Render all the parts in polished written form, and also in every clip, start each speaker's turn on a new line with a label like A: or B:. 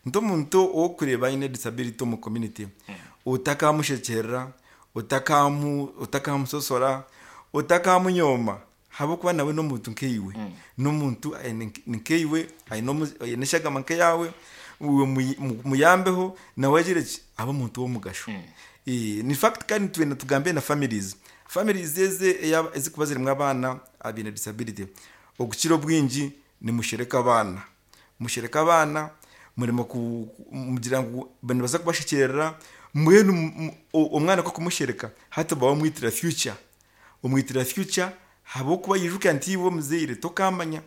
A: Nti omuntu ou orikureeba aine disability omu community, otakamushekyerera, otakamusosora, otakamunyooma ahabw'okuba nawe n'omuntu nkaiwe. N'omuntu aine nkaiwe, aine eshagama nk'eyaawe, iwe muyambeho nawe agire ki, abe omuntu w'omugasho. In fact kandi twena tugambe na families, families ezi ezirikuba zirimu abaana abaine disability, okukira obwingi nimushereka abaana. Mushereke abaana, muremwe kumugira ngu nibaza kubashekyerera, mbwenu omwana ku orikumushereka hati oba wamwitira future, omwitira future ahabw'okuba ijuka nti iwe omuzaire tokamanya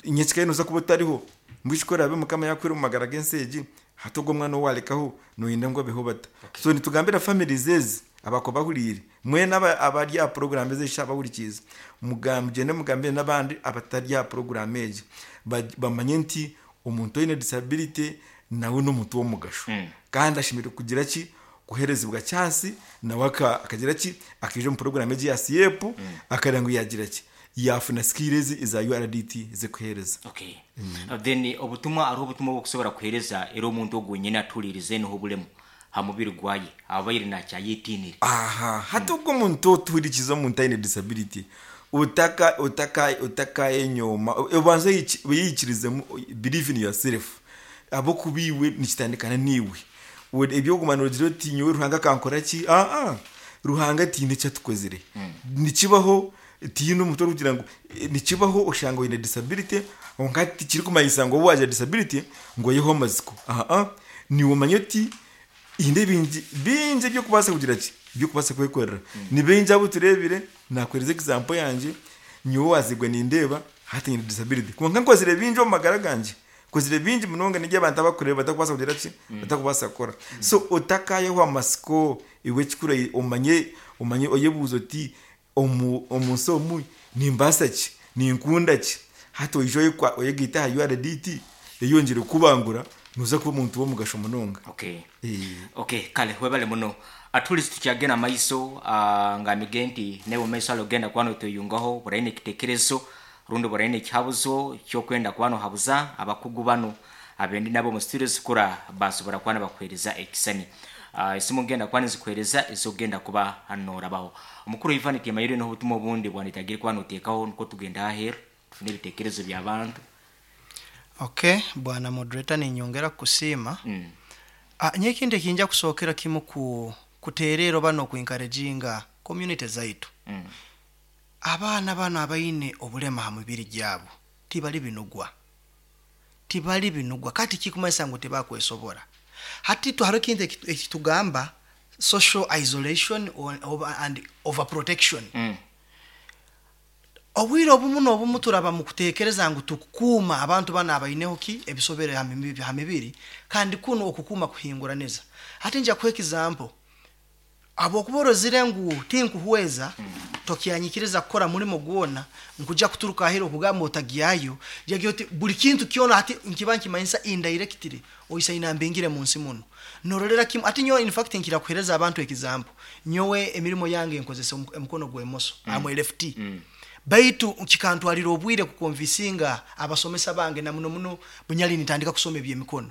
A: nyenkya nooza kuba otariho, mbwenu ku oraabe Mukama yaakuhaire omu magara g'ensi egi, hati ogwo omwana ou waarekaho nooyenda ngu abeho bata? So nitugambira families ezi abakuba bahuriire, mwena abari aha puroguraamu ezi eshaaha abahurikiize, mugyende mugambire n'abandi abatari aha puroguraamu egi bamanye nti omuntu oine disability nawe n'omuntu w'omugasho kandi ashemereire kugira ki? Kuheerezibwa chance nawe akagira ki? Akaija omu puroguraamu egi eya CEP akareeba ngu yaagira ki? Yaafuna skill ezi eza URDT ez'okuheereza.
B: Okay. Then obutumwa hariho obutumwa obu okusobora kuheereza era omuntu ogu wenyini atuhuriirize niho obulemu ha mubiri gwaye abaire nakyayetiinire.
A: Aha, hati ogwo omuntu otuhurikize omuntu aine disability, otaka otaka otakayenyooma, obanze oyeyikirizemu, believe in yourself, ahabw'okuba iwe nikitandikana naiwe. Eby'okuguma noogira oti nyowe Ruhanga akankora ki, aa, Ruhanga tihaine eki atukozire. Nikibaho tihaine omuntu orikugira ngu nikibaho oshanga oine disability kwonka tikirikumanyisa ngu obu waagira disability ngu oiheho amatsiko, aa, naiwe omanye oti haine ebingi bingi eby'okubaasa kugira ki, eby'okubaasa kwekorera. Ni baingi abu tureebire, naakuheereza example yangye, nyowe owaazairwe nindeeba hati nyine disability kwonka nkozire bingi omu magara gangye. Nkozire bingi munonga n'ebi abantu abarikureeba batakubaasa kugira ki? Batakubaasa kukora. So otakaayehwa amatsiko, iwe ekikuru omanye omanye oyebuuze oti omu omu nsi omu nimbaasa ki? Ninkunda ki? Hati oije oyekwa oyegaite aha URDT eyongyere kukubangura, nooza kuba omuntu w'omugasho munonga.
B: Okay. Okay, kale webale muno. Atuhurize tukyagenda maiso ah, ngamige nti naiwe mumaiso hali ogenda kuba notweyungaho buraine ekitekerezo rundi buraine ekihabuzo ky'okwenda kuba nohabuza abakugu banu abendi nabo omu studios kura basobora kuba nibakuhereza ekisani. Ah, esimu ngenda kuba nizikuhereza ezokugenda kuba norabaho. Omukuru Ivan Tiamayire noha obutumwa obundi bwanetagire kuba notekaho nukwo tugende aheru tufune ebitekerezo by'abantu.
C: Okay, bwana moderator ninyongera kukusiima. Ah, nyowe ekintu ekinja kusookera kimu ku kuteereera oba n'oku encouraginga community zaitu. Abaana banu abaine obulema ha mibiri gyabo tibali binugwa. Tibali binugwa. Kati tikikumanyisa ngu tibakwesobora. Hati itwe haroho ekintu eki tugamba social isolation oba and over protection. Obwire obumu n'obumu turaba mu kutekereza ngu tukukuuma abantu banu abaineho ki? Ebisobere ha mibiri kandi kunu okukuuma kuhinguraniza. Hati nja kuha example. Habwokuba orozire ngu tinkuhweza, tokyanyikiriza kukora mulimo gwona, nkuja kuturuka aheru okugamba otagyayo, jagira oti buli kintu kyona hati nkiba nkimanyisa indirectly oisaine ambingire munsi munu. Norolera kimu, hati nyowe infact nkira kuhereza abantu example, nyowe emirimo yange nkozesa omukono gw'emoso, am a lefty, baitu kikantwalira obwire kukonvisinga abasomesa bange na muno muno bunyali nintandika kusoma eby'emikono.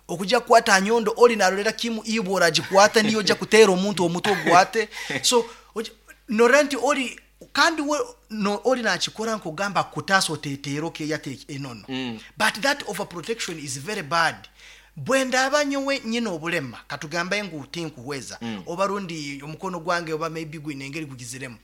C: Okuja kukwata ha nyondo ori narorera kimu iwe oragikwata niyo oja kuteera omuntu omutwe ogwate so norora nti ori kandi we no ori nakikora nkogamba akukutaasa oteteera okeyata enono but that over protection is very bad bwendaba nyowe nyine obulema katugambe ngu tinkuhweza oba rundi omukono gwange oba maybe gwine engeri gugiziremu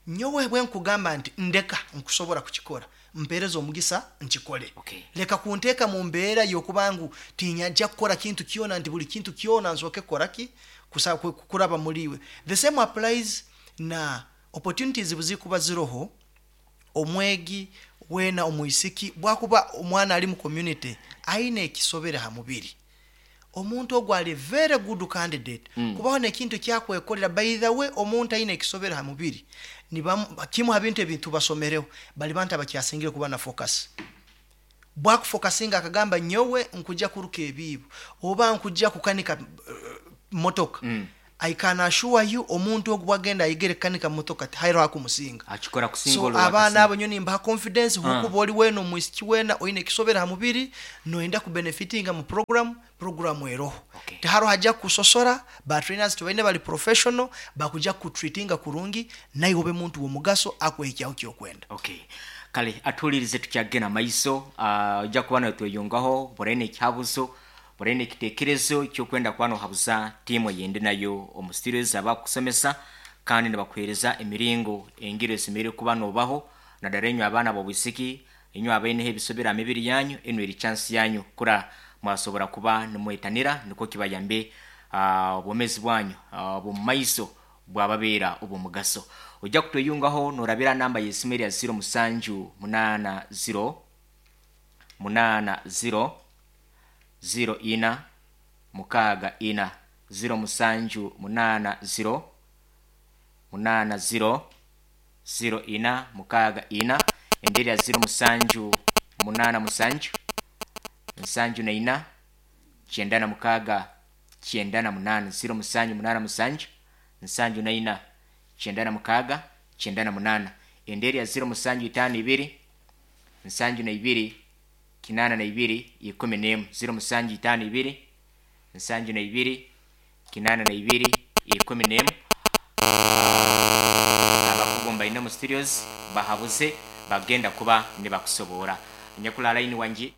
C: nyowe bwenkugamba nti ndeka nkusobora kukikora Mpeereza omugisa nkikole. Leka kunteeka mu mbeera y'okuba ngu tinyajja kukora kintu kyona nti buli kintu kyona nsooke kukora ki? Kuraba muli iwe. The same applies na opportunities buzikuba ziroho, omwegi weena omwisiki bwakuba omwana ali mu community aine ekisobere ha mubiri, omuntu ogu ali very good candidate kubaho nekintu ekyakwekorera by the way omuntu aine ekisobere ha mubiri nibamu kimu ha bintu ebi tubasomereho bali bantu abakyasingire kuba na focus bwakufokasinga akagamba nyowe nkuja kuruka ebiibo oba nkuja kukanika motoka. I can assure you omuntu ogu bwagenda ayigere kukanika motoka tihariho akumusinga.
B: Akikora kusinga
C: So
B: ori
C: abaana
B: owakasinga.
C: abo nyowe nimbaha confidence hukuba ori weena omwisiki weena oine ekisobero aha mubiri noyenda kubenefitinga mu program, program eroho.
B: Okay.
C: Tihariho haja kukusosora, ba trainers tubaine bari professional bakuja kukutreatinga kurungi naiwe obe muntu w'omugaso akuhikyaho kyokwenda.
B: Okay. Kale atuhulirize tukyagenda maiso, ojja kuba notweyungaho buraine ekihabuzo, buraine ekitekerezo kyokwenda kuba nohabuza tiimu eyindi nayo omu studios abakusomesa kandi nibakuhereza emiringo engiro esemereire kuba nobaho nadara enywe abaana b'obwisiki, enywe abaineho ebisobero aha mibiri yanyu, enu eri chance yanyu kura mwasobora kuba nimwetanira nikwo kibayambe obwomezi bwanyu obw'omumaiso bwababeera obw'omugaso. Ojja kutweyungaho norabira namba y'esimu erya ziro musanju munaana ziro munaana ziro ziro ina mukaaga ina, ziro musanju munaana ziro munaana ziro ziro ina mukaaga ina, endi erya ziro musanju munaana musanju nsanju na ina kyenda na mukaaga kyenda na munaana, ziro musanju munaana musanju nsanju na ina kyenda na mukaaga kyenda na munaana, endi erya ziro musanju itaano ibiri nsanju na ibiri kinaana na ibiri ikumi n'emu, ziro musanju itaano ibiri nsanju na ibiri kinaana na ibiri ikumi n'emu. Abakugu mbaine omu studios bahabuze bagenda kuba nibakusoboora. Nyakula line wangi.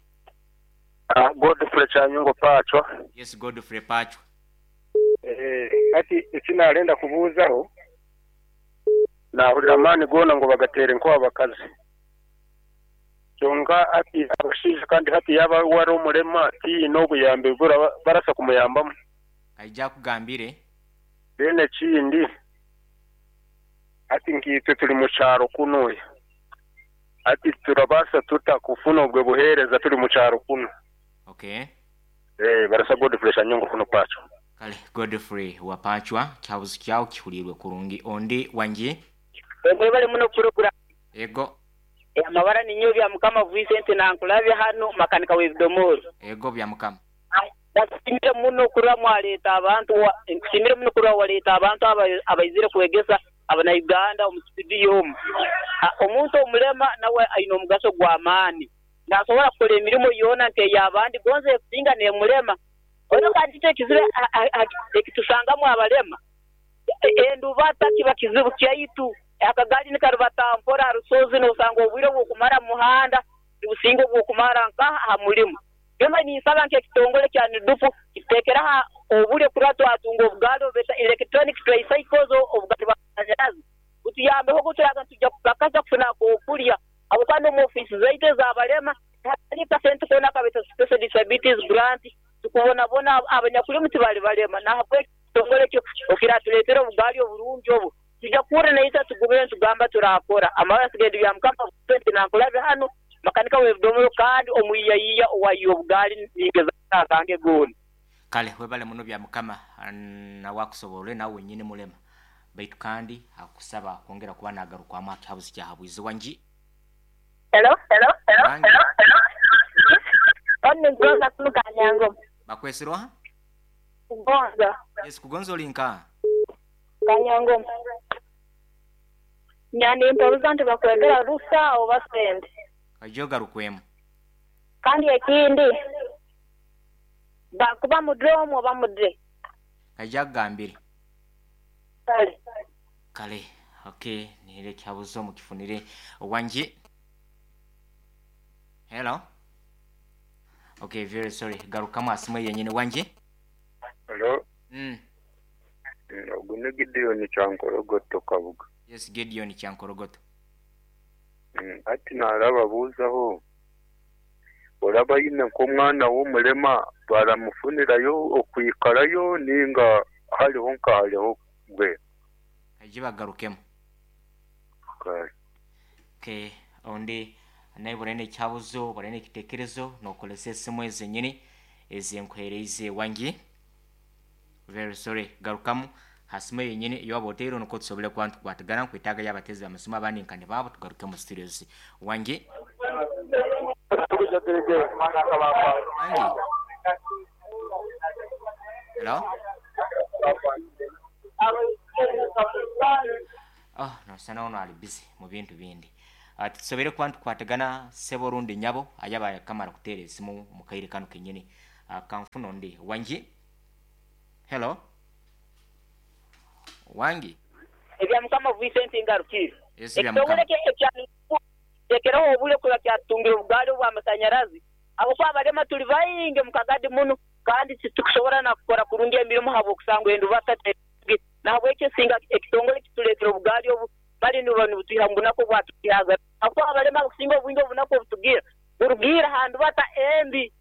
D: Godfrey Kyanyungo Pacho.
B: Yes, Godfrey Pacho.
D: Hati eki naarenda kubuuzaho, naahurira amaani goona ngu bagateere nk'abakazi. Kyonka hati abashaija kandi hati yaaba we ari omurema tihaine obuyambi obu barasa kumuyambamu.
B: Aija akugambire.
D: Then ekindi, hati nkaitwe turi mu kyaro kunuya, hati turabaasa tuta kufuna obwo buheereza turi mu kyaro kunu?
B: Okay.
D: Barasa Godfrey Shanyongo kuno Pacho.
B: Kale Godfrey wa Pachwa, kihabuzi kyawe kihuriirwe kurungi. Ondi wangi?
E: Mwebale muno puroguramu.
B: Ego.
E: Amabara ninyowe Byamukama Vincent nankulabya hanu makanika w'ebidomoro.
B: Ego Byamukama.
E: Nkusiimire muno kurora mwaleeta abantu nkusiimire muno kurora waleeta abantu abaizire kwegesa abanauganda omu situdiyo omu. Omuntu omulema nawe aine omugaso gw'amaani. Nasobora kukora emirimo yoona nk'ey'abandi gonza ekusinga n'emulema. Oihireho kandi itwe ekizibu ekitusangamu abalema, endubata kiba kizibu kyaitu. Akagaali nikarubata mpora ha rusozi nosanga obwire obw'okumara mu muhanda nibusinga obw'okumara nkaha ha mulimo. Byona ninsaba nk'ekitongole kya NUDUPU kituteekereho obulyo kurora twatunga obugaali obubeeta electronic tricycles obugaali bw'amasanyarazi butuyambeho obu turaaga nitwija kupakasa kufuna ak'okulya habwokuba n'omu ofiisi zaitu ez'abalema tihariyo kasente koona akabeeta Special Disabilities Grant tukubonabona abanyakulimu tibali balema nahabweki ekitongole ekyo okiratuleetera obugaali oburungi obu twija kuhurra naitwe tugumire nitugamba turakora. Amabara asigaire bya Mukama Vincent Nankulabe hanu makanika w'ebidomolo kandi omwiyayiya owayiya obugaali ningeza akange goona.
B: Kale webale muno Byamukama nawe akusoborre nawe wenyini mulema baitu kandi akusaba kwongera kuba nagarukwamu aha kihabuzi kya habwizi wangi.
F: Hello.
B: Wangi.
F: Onu ni Gonza kunu Kanyangoma.
B: Bakwesire oha?
F: Kugonza.
B: Yes, Kugonza ori nkaha?
F: Kanyangoma. Nyanimperuza nti bakwegera rusa oba sente.
B: Oije ogarukwemu.
F: Kandi ekindi bakuba mudre omu oba mudre.
B: Kaija akugambire.
F: Kale.
B: Kale, ok, nihire ekihabuzo mukifunire. Wangi. Hello. Ok, very sorry. Garukamu aha simu yenyine. Wangi.
G: Hello. Ogu ni Gideon Kyankorogoto Kabuga.
B: Yes, Gideon Kyankorogoto.
G: Hati narababuuzaho, oraba aine nk'omwana w'omurema baramufunirayo okwikarayo ninga hariho nka hariho mbwenu?
B: Baije bagarukemu.
G: Kare.
B: Okay, ondi naiwe oraine ekihabuzo, oraine ekitekerezo, nokoresa esimu ezenyini ezinkuhereize. Wangi? Very sorry, garukamu ha simu eyenyini ei waba oteire nikwo tusobole kuba nitukwatagana. Nkwetaaga y'abateezi b'amasimu abandi nka nibaabo tugaruke omu studios. Wangi? Wangi? Hello? Nosana ono ali busy mu bintu bindi. Tusobere kuba nitukwatagana sebo rundi nyabo ayaba yakamara kuteera esimu mu kaire kano kenyini. Kanfuna ondi wangi. Hello, wangi.
E: Ebya Mukama Vincent Ngarukire.
B: Yesu bya
E: Ekitongole
B: Mukama.
E: kye ekya Tekereho obwire kuba kyatutungira obugaali obw'amasanyarazi ahabw'okuba abalema tuli baingi omu kagadi muno kandi titukusobora na kukora kurungi emirimo habw'okusangwa endubata terungi. Nahabwekyo singa ekitongole kituleetera obugaali obu mali nibuba nibutwiha mu bunaku obwatwihaga ahabw'okuba abalema abakusinga obwingi obunaku obutugira burugiire ha ndubata embi.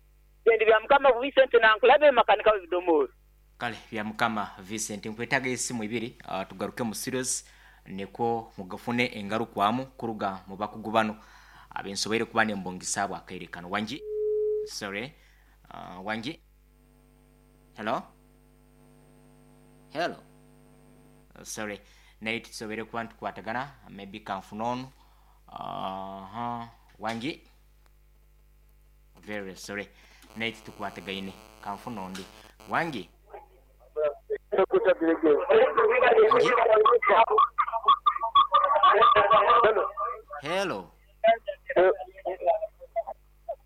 E: Nze ndi Byamukama Vincent Nankulabye makanika w'ebidomooro.
B: Kale Byamukama Vincent, nkwetaaga esimu ibiri tugaruke mu studios nikwo mugafune engarukwamu kuruga mu bakugu banu abensoboire kuba nembungisa abo akaire kano. Wangi? Sorry. Wangi? Hello? Hello? Sorry. Naye tusoboire kuba nitukwatagana, maybe kanfune onu. Wangi? Very sorry. Naye titukwatagaine. Kanfune ondi. Wangi? Wangi? Hello?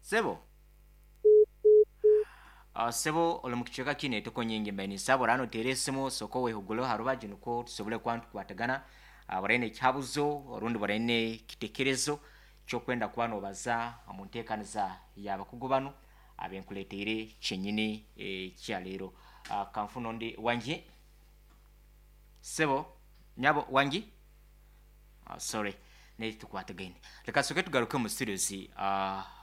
B: Sebo? Sebo oli mu kicweka kinu etoko nyingi mbaire ninsaba orano oteere esimu sooka wehuguleho ha rubaju nikwo tusobole kuba nitukwatagana. Buraine ekihabuzo orundi buraine ekitekerezo ky'okwenda kuba nobaza omu nteekaniza y'abakugu banu abenkuleteire kyenyini ekya leero. Kanfune ondi. Wangi? Sebo? Nyabo? Wangi? Sorry, naye titukwatagaine. Leka tusooke tugaruke mu studios,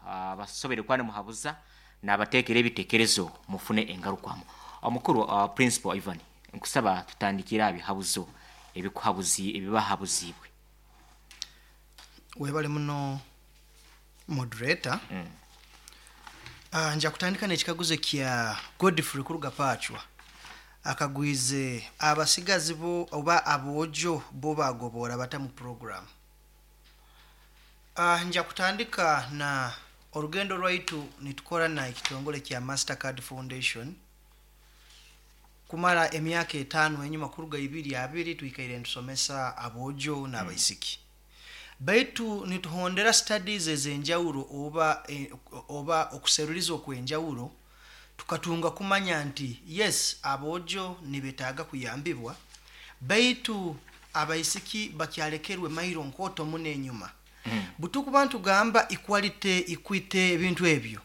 B: abasoboire kuba nimuhabuza nabateekera ebitekerezo mufune engarukwamu. Omukuru, Principal Ivan, nkusaba tutandikire aha bihabuzo ebikuhabuzi ebibahabuziibwe.
C: Webale muno moderator. Nja kutandika n'ekikaguzo kya Godfrey kuruga Pachwa. Akagwize abasigazi bo oba aboojo bo bagoboora bata mu program. Nja kutandika na orugendo rwaitu nitukora na ekitongole kya Mastercard Foundation kumara emyaka 5 enyuma kuruga 2020 twikaire nitusomesa aboojo n'abaisiki. Baitu nituhondera studies ez'enjawulo oba okuseruliza okw'enjawulo tukatunga kumanya nti yes aboojo nibetaaga kuyambibwa baitu abaisiki bakyalekerwe mairo nkooto muno enyuma. Butukuba ntugamba equality, equity ebintu ebyo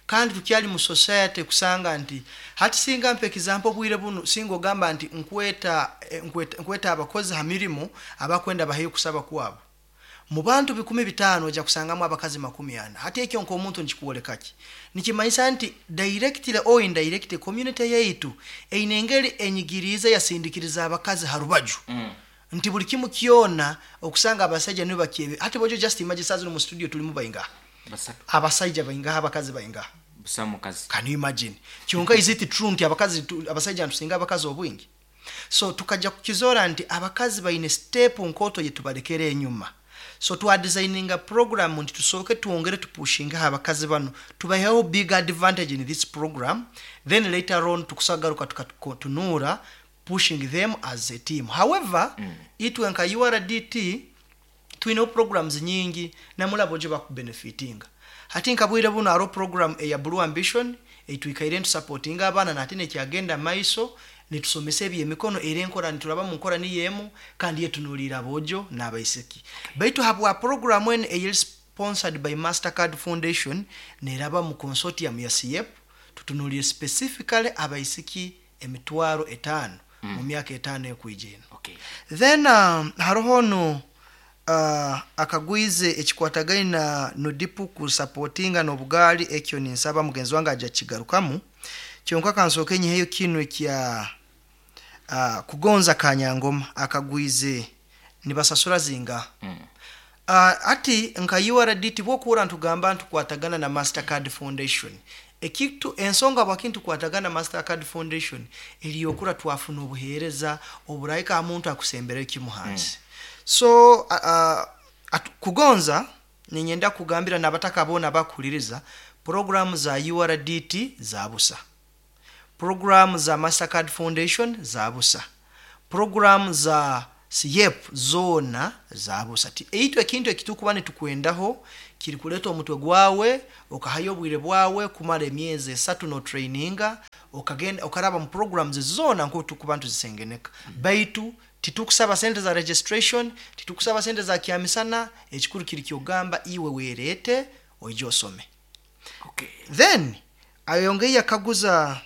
C: kandi tukyali mu society kusanga nti hati singa mpa example obwire bunu singa ogamba nti nkweta abakozi ha mirimu abakwenda baheyo kusaba kwabo. Mu bantu 5,000 ojja kusangamu abakazi 40. Hati ekyo nk'omuntu nikikwoleka ki? Nikimanyisa nti directly or indirectly community yaitu eine engeri enyigiriize yasindikiriza abakazi ha rubaju. Nti buli kimu kyona okusanga abasajja nibo bakyebe. Hati bojo just imagine saa zino mu studio tulimu baingaha.
B: Basatu.
C: Abasajja baingaha, abakazi baingaha.
B: Busa mukazi.
C: Can you imagine? Kyonka is it true nti abasajja ntusinga abakazi obwingi? So tukajja kukizora nti abakazi baine step nkoto yetubalekera enyuma. So twa designinga program nti tusooke twongere tupushinga abakazi bano tubaheho big advantage in this program, then later on tukusagaruka tukatunura pushing them as a team. However, itwe nka URDT twine programs nyingi namulabo gye bakubenefitinga. Hati nkabwire buno aro program eya Blue Ambition eitwikaire ntusupportinga abaana nate nekyagenda maiso nitusomesa ebyemikono era enkora nituraba mu nkora niyo emu kandi yetunuulira aboojo n'abaisiki. Baitu habwa program eno eyeri sponsored by Mastercard Foundation neraba mu consortium ya CIEP tutunuulire specifically abaisiki 5,000 mu myaka 5 ekwija eno. Then haroho no akagwize ekikwatagaine na Nudipu kusupportinga n'obugaali ekyo ninsaba mugenzi wange ajja kigarukamu. Kyonka kansooke nyiheyo kinu ekya kugonza Kanyangoma akagwize nibasasura zinga. Ati nka URDT bwokuura ntugamba ntukwatagana na Mastercard Foundation. Ekitu ensonga bwakintu kwatagana Mastercard Foundation eriyokura twafuna obuheereza oburaika omuntu akusembera ekimuhansi. So kugonza ninyenda kugambira n'abataka bona bakuhuliriza programu za URDT za busa, programu za Mastercard Foundation za busa, programu za CIEP zoona zabusa. Ti eitwe ekintu ekitukuba nitukwendaho kiri kuleta omutwe gwawe okahayo obwire bwawe kumara emyezi esatu no traininga okagenda okaraba mu programs zoona nko tukuba ntuzisengeneka. Baitu titukusaba sente za registration, titukusaba sente za kyamisana, ekikuru kiri kyogamba iwe werete oije osome.
B: Okay.
C: Then ayongeye akaguza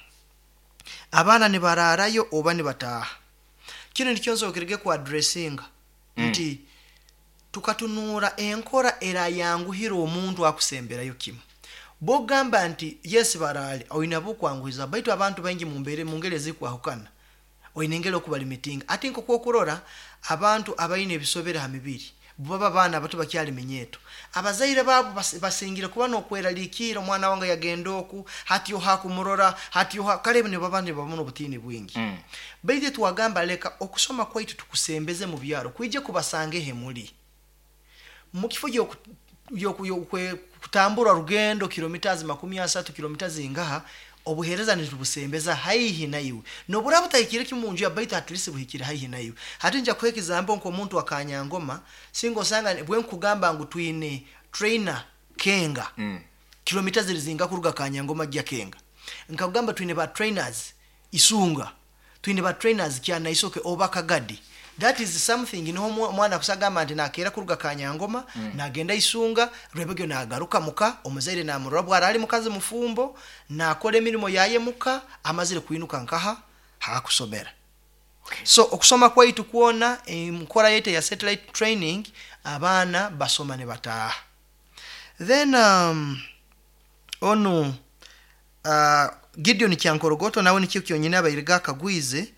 C: abaana nibararayo oba nibataaha. Kino nikyo nsokerege ku addressinga nti tukatunuura enkora erayanguhira omuntu akusemberayo kimu. Bogamba nti yes barale oina bukwanguhiza, baitu abantu baingi mumbere mungeri ezikwahukana oine engeri okubalimitinga. Ate nk'okwokurora abantu abaine ebisobere ha mibiri baba baana bato bakyali minyeto, abazaire baabo basingire kuba nokweraliikira omwana wange yagenda oku hati oha kumurora hati oha kale nibaba nibabona obutiini bwingi. Baitu twagamba leka okusoma kwaitu tukusembeze mu byaro kwije kubasanga ehe muli mu kifo kutambura rugendo kilometers 30 kilometers ingaha, obuhereza nitubusembeza haihi naiwe nobura butahikire kimunju ya baitu at least buhikire haihi naiwe. Hati nja kuha example nk'omuntu akanyangoma singa osanga bwe nkugamba ngu twine trainer Kenga kilomita ziri zinga kuruga Kanyangoma gya Kenga, nkagamba twine ba trainers Isunga, twine ba trainers Kyanaisoke oba Kagadi. That is something niho omwana kusagamba nti nakera kuruga Kanyangoma nagenda Isunga rwebegyo nagaruka muka, omuzaire namurora bwara ali mukazi mufumbo nakora emirimo yaye muka amazire kwinuka nkaha hakusomera. So okusoma kwaitu kwona enkora yaitu ya satellite training abaana basoma ne bataaha. Then onu Gideon Kyankorogoto nawe nikyo kyonyine abairiga akagwize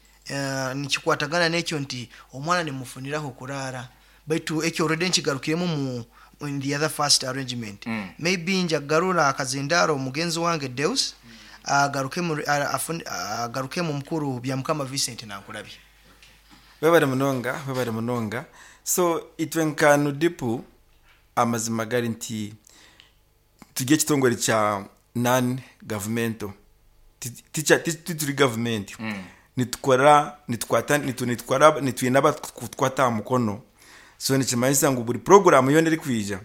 C: nikikwatagana n'ekyo nti omwana nimufuniraho kurara, baitu ekyo already nkigarukiremu mu in the other first arrangement. Maybe njagarura akazindaro mugenzi wange Deus agaruke mu mukuru bya Mukama Vincent nankurabye.
A: Webare munonga, webare munonga. So itwe nka NUDIPU amazima gari nti turi ekitongore kya non governmental, tituri government. Nitukora nitukwata nitwara nitwine abakutukwata aha mukono. So nikimanyisa ngu buri program yoona erikwija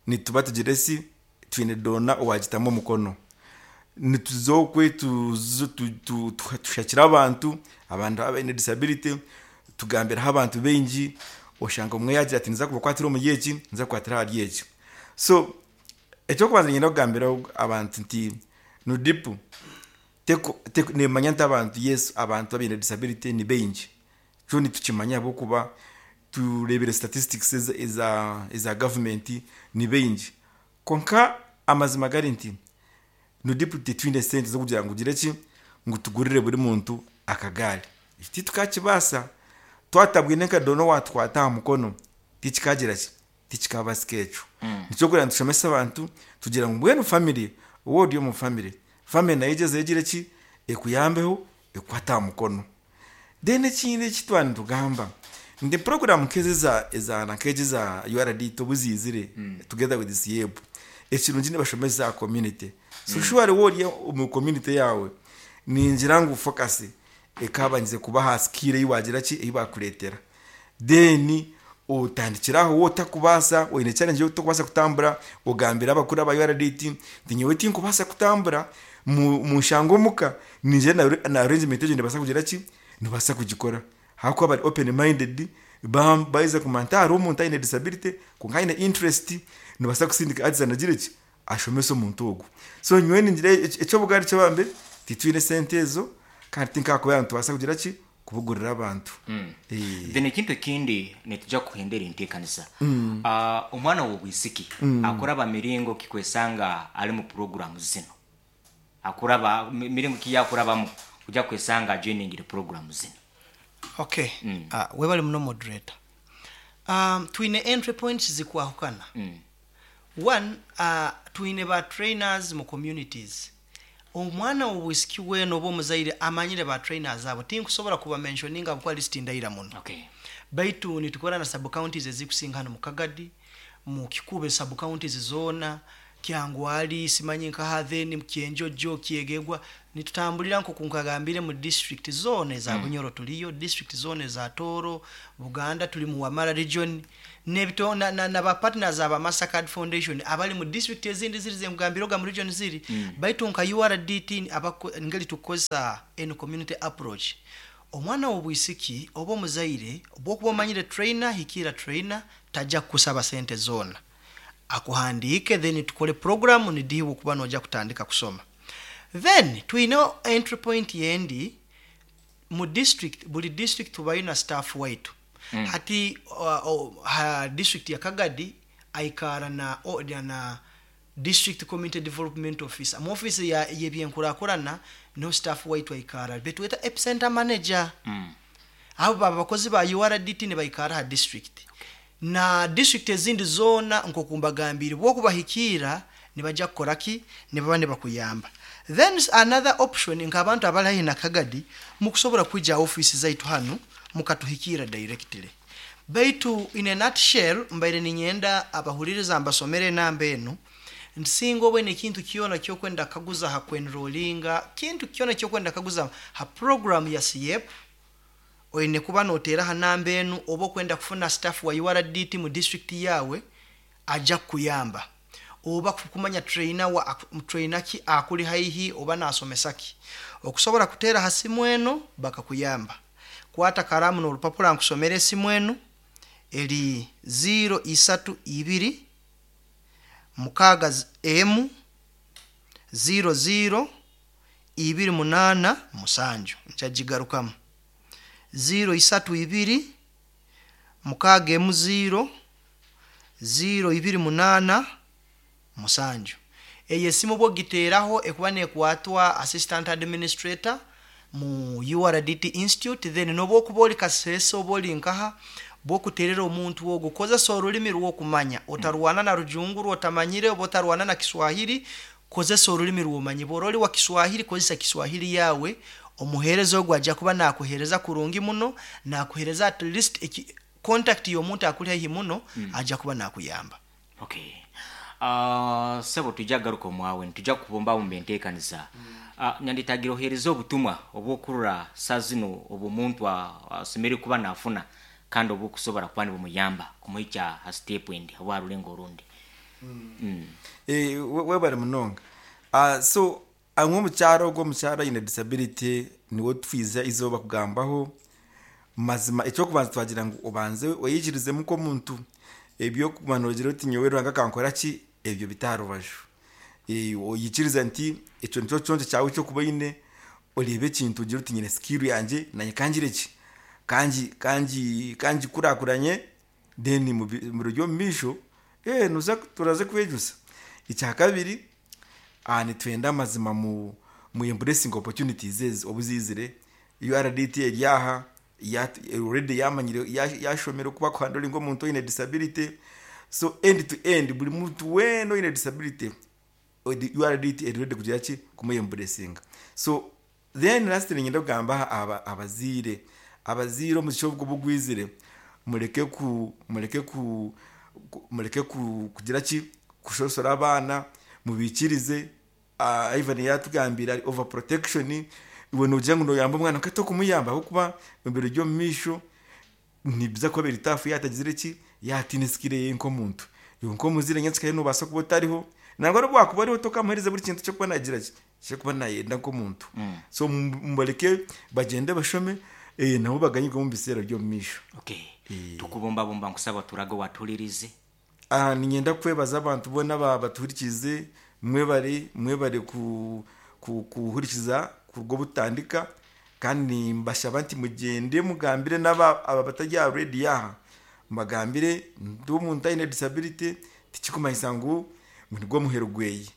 A: nituba tugire si twine doona owagitamu omukono. Nituza okwe tushakire abantu, abantu abaine disability, tugambiraho abantu baingi, oshanga omwe yagira ati ninza kubakwatira omuri eki, ninza kukwatira ahari eki. So ekyokubanza niinyenda kugambira abantu nti NUDIPU neemanya nti abantu yes abantu abaine disability ni baingi. Kyo nitukimanya ahabw'okuba tureebire statistics eza gavumenti ni baingi. Kwonka amazima gari nti NUDIPU titwine sente z'okugira ngu tugire ki, ngu tugurire buri muntu akagaari. Ekyo titukakibaasa. Twatabwine nka doona owaatukwata aha mukono, tikikagira ki, tikikabaasika ekyo. Nikyo orikureeba nitushomesa abantu tugira ngu mbwenu family, waaba ori omu family, family nayo egyezeho egire ki, ekuyambeho ekukwate aha mukono. Then ekindi eki twaba nitugamba nti puroguraamu nk'ezi eza nk'egi eza URD obu ziizire together with SYEP, ekirungi nibashomesa aha community. So surely waaba ori omu community yaawe, ningira ngu focus ekaabandize kuba aha skill ei waagira ki, ei baakureetera. Then otandikire aho waaba otakubaasa, oine challenge ei otakubaasa kutambura, ogambire abakuru aba URD nti nyowe tinkubaasa kutambura, munshange omuka, ningira na arrangement egyo nibaasa kugira ki, nibaasa kugikora. Ahakuba bari open minded, baaheza kumanya nti hariho omuntu aine disability kwonka aine interest, nibaasa kusindika artisan agire ki, ashomese omuntu ogwo. So nyowe ningira eky'obugaari ky'abambe, titwine sente ezo kandi tinkakubeera nitubaasa kugira ki, kubugurira abantu.
B: Then ekintu ekindi nituja kuhindura enteekaniza. Omwana w'obwisiki akuraba miringo ki kwesanga ali mu puroguramu zinu? Akuraba miringo ki yakurabamu kuja kwesanga ajoiningire puroguramu zinu?
C: Okay, webale muno moderator. Twine entry points zikwahukana. One, twine ba trainers mu communities. Omwana w'obwisiki weena oba omuzaire amanyire ba trainers abo, tinkusobora kuba mentioninga ahabw'okuba list ndaira muno. Baitu nitukora na sub counties ezikusinga hanu mu Kagadi, mu Kikuube sub counties zoona. Kyangwali, simanyi nkaha, then Kyenjojo, Kyegegwa. Nitutambulira nkoku nkagambire mu district zona eza Bunyoro tuliyo, district zona eza Tooro, Buganda tuli mu Wamala region, n'ebito na, na, na ba partners aba Mastercard Foundation abali mu district ezindi ziri zenkugambire oga mu region ziri. Baitu nka URDT abako, ngeri tukukozesa eno community approach. Omwana w'obwisiki oba omuzaire bwokuba omanyire trainer, hikiira trainer, tajja kukusaba sente zoona, akuhandiike, then tukole program nidihiwa okuba noja kutandika kusoma. Then twine entry point yendi mu district, buli district tubayo na staff waitu. Hati ha district ya Kagadi aikara na, na district community development officer mu office ya yebyenkurakurana, no staff waitu aikara betweta epicenter manager. Abo baba bakozi ba URDT nibaikara ha district na district ezindi zoona. Nkoku mbagambire, bwokubahikiira nibajja kukora ki, nibaba nibakuyamba. Then another option, nk'abantu abali haihi na Kagadi, mukusobora kwija office zaitu hanu mukatuhikiira directly. Baitu in a nutshell, mbaire ninyenda abahuliriza mbasomere enamba enu. Nsinga obwene ekintu kyona kyokwenda kaguza ha kwenrolinga, kintu kyona kyokwenda kaguza ha program ya CIEP, oine kuba noteera ha namba enu, oba okwenda kufuna staff wa URDT mu district yawe ajja kukuyamba, oba kumanya trainer wa trainer ki akuli haihi oba nasomesa ki, okusobola kuteera ha simu eno bakakuyamba. Kwata karamu n'olupapura nkusomera esimu enu. Eri 032 6 emu 00 28 7. Nkyagigarukamu: 032 6 emu 0 0 28 7. Eyo esimu bwogiteeraho ekuba nekwatwa assistant administrator mu URDT Institute. Then noba okuba oli Kasese oba oli nkaha, bwokuterera omuntu ogwo, kozesa orulimi rw'okumanya. Otarwana na rujungu rwotamanyire oba otarwana na Kiswahili, kozesa orulimi rwomanyi. Bwora oli wa Kiswahili, kozesa Kiswahili yawe. Omuheereza ogwo ajja kuba nakuheereza kurungi muno, nakuheereza at least contact y'omuntu akuli haihi muno, ajja kuba nakuyamba.
B: Okay. Sebo, tujja garuka omwawe, nitujja kubumbabumba enteekaniza. Nyanditagira oheereza obutumwa obwokurura saa zino obw'omuntu asemereire kuba nafuna kandi obukusobora kuba nibumuyamba kumuhikya ha step endi oba ha rulengo orundi.
A: Webale munonga. So amwe omukyaro, ogwo omukyaro aine disability niwe twiza izooba kugambaho. Mazima ekyokubanza twagira ngu obanze oyikirizemu nk'omuntu, ebyokuba nogira oti nyowe Ruhanga akankora ki, ebyo bite aha rubaju. Oyikiriza nti ekyo nikyo kiconco kyawe ekyokuba oine, oreebe ekintu ogire oti nyine skill yangye nanye kangire ki, kangi kangi kangikurakuranye, then mu biro by'omu maisho noza turaza kwejusa. Ekyakabiri, nitwenda amazima mu embracing opportunities ezi obu ziizire. URDT eri aha already yamanyire, yashomire oku bakuhandolinga omuntu oine disability. So end to end, buri muntu weena oine disability, URDT eri ready kugira ki, kumuyembracinga. So then lastly, niinyenda kugamba aha abazaire. Abazaire, omugisha ogu bugwizire, mureke ku kugira ki, kushosora abaana, mubikirize. Ivan yatugambire ari over protection, iwe nogira ngu noyamba omwana nkati okumuyamba, ahabw'okuba ebiro by'omu maisho nibiza kuba biri tough yatagizire ki, yatiine skill eye nk'omuntu. Iwe nk'omuzaire nyenkyakare nobaasa kuba otariho, nangwa n'obu wakuba oriho tokamuheereza buri kintu ky'okuba nagira ki, ky'okuba nayenda nk'omuntu. So mubareke bagyende bashome, nabo baganyirwe omu biseera by'omu maisho.
B: Okay, tukubumbabumba, nkusaba turage owatulirize.
A: Niinyenda kwebaza abantu boona batuhurikiize. Mwebare, mwebare kuhurikiza kuruga obu tutandika, kandi nimbashaba nti mugyende mugambire n'aba aba batari aha rediyo aha, mbagambire nti omuntu aine disability tikikumanyisa ngu nigwo muheru gweye.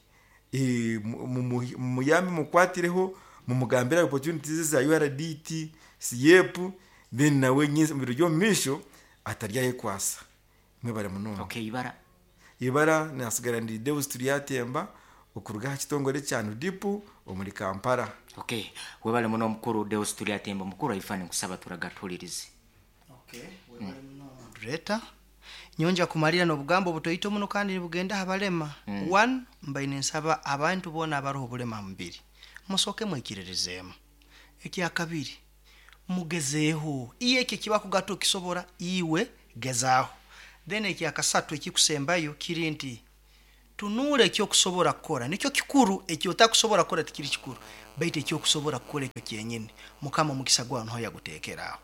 A: Mumuyambe, mumukwatireho, mumugambire opportunities za URDT, CIEP, then nawe omu biro by'omu maisho ataryayekwasa. Mwebare munonga.
B: Okay, ibara?
A: Ibara nasigara ndi Deus Turyatemba, okuruga aha kitongore kya NUDIPU omuri Kampala.
B: Okay, webale muno omukuru Deus Turyatemba. Omukuru Ivan, nkusaba turaga tuhulirize.
C: Okay, webale muno moderator. Nyonja kumalira n'obugambo obutoito muno kandi nibugenda aha balema. One, mbaine nsaba abantu boona abaroho obulema aha mubiri musooke mwikiririzeemu. Ekyakabiri, mugezeeho, iye ekyo ekibakugata okisobora, iwe gezaaho. Then ekyakasatu ekikusembayo kiri nti tunuura ekyokusobora kukora, nikyo kikuru. Ekyotakusobora kukora tikiri kikuru, baitu ekyokusobora kukora ekyo kyenyini Mukama omukisa gwawe niho yaguteekera aho.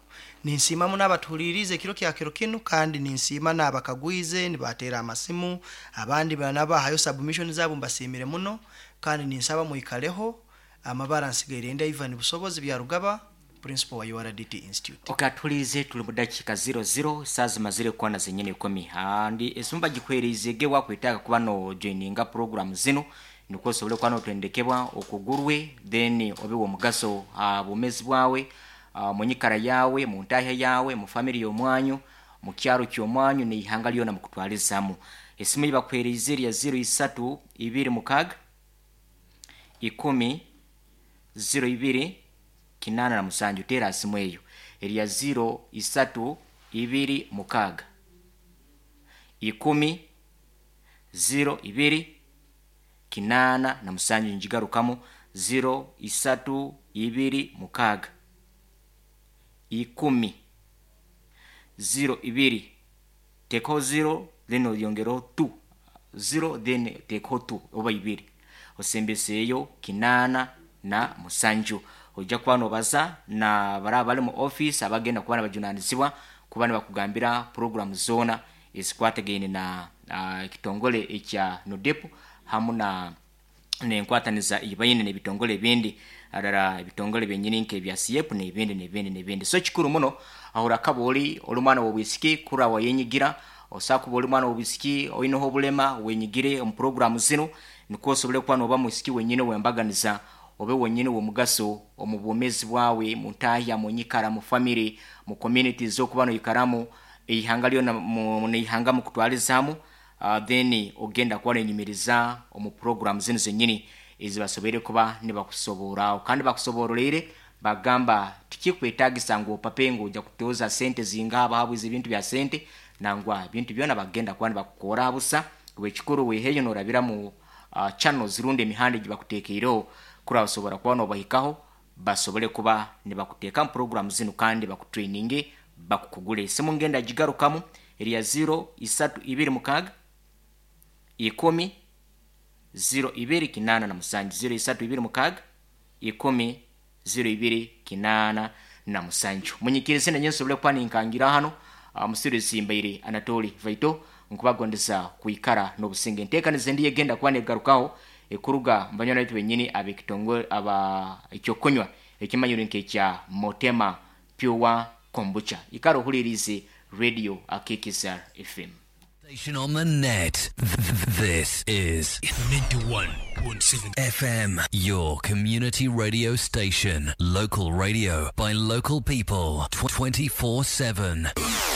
C: Ninsiima muno abatuhuliriize ekiro kya kiro kinu, kandi ninsiima n'abakagwize nibateera amasimu, abandi nabahayo submission zaabo, mbasiimire muno, kandi ninsaba mwikaleho. Amabara nsigaire ndi Ivan Busobozi Byarugaba, principal wa URDT Institute.
B: Okay, atuhuliirize, tuli mu dakiika 00 saaha zimazire kwana zenyini ikumi. Andi esimu bagikuheeriize ge wakwetaaga kuba no joininga program zinu nikwo osobole kuba notendekebwa okugurwe, then obe w'omugaso ha bwomeezi bwawe, mu nyikara yawe, mu ntahya yawe, mu family y'omwanyu, mu kyaro ky'omwanyu n'eihanga lyona mukutwalizamu. Esimu ei bakuheeriize eri ya 03 26 10 02 87. Teera simu eyo eri ya 03 26 10 02 87. Ngigarukamu, 03 26 10 02, teekaho 0 then oyongereho 2 0, then teekaho 2 oba ibiri, osembeseeyo 87. Ojja kuba nobaza na bari abari mu office abagenda kuba nibajunanizibwa kuba nibakugambira program zoona ezikwatagaine na ekitongole ekya NUDEP hamu na nenkwataniza ei baine n'ebitongole ebindi, harara ebitongole byenyini nk'ebya SIEP n'ebindi n'ebindi n'ebindi. So kikuru muno aho orakaba ori omwana w'obwisiki kurora wayenyigira, osobola kuba ori mwana w'obwisiki oineho obulema, wenyigire omu program zinu nikwo osobole kuba noba mwisiki wenyini ow'embaganiza, obe wenyini w'omugaso omu bwomeezi bwawe, mu ntahya, mu nyikara, mu family, mu community z'okuba noikaramu, eihanga lyona n'eihanga mukutwalizamu. Then ogenda kuba noyenyumiriza omu program zinu zenyini ezibasoboire kuba nibakusoboraho, kandi bakusoboroleire bagamba tikikwetagisa ngu opape ngu ojja kutoza sente zingaha bahabwize ebintu bya sente, nangwa ebintu byona bagenda kuba nibakukora busa. Ekikuru weheyo norabira mu channels rundi emihanda egibakuteekeireho kuraba osobora kuba nobahikaho, basobole kuba nibakuteeka mu program zinu kandi bakutraininge, bakukugure. Esimu ngenda gigarukamu, eri ya 03 26 10 02 87, 03 26 10 02 87. Munyikirize nanye nsobole kuba ninkangira hano musirizi mbaire Anatoli Vaito, nkubagondeza kwikara n'obusinge. Enteekaniza endi egenda kuba negarukaho ekuruga mbanywana baitu benyini ab'ekitongole aba ekyokunywa ekimanyirwe nk'ekya Motema Pure Kombucha. Ikara ohulirize Radio Akikiza FM.
H: Station on the net. This is
I: 91.7
H: FM, your community radio station. Local radio by local people 24/7.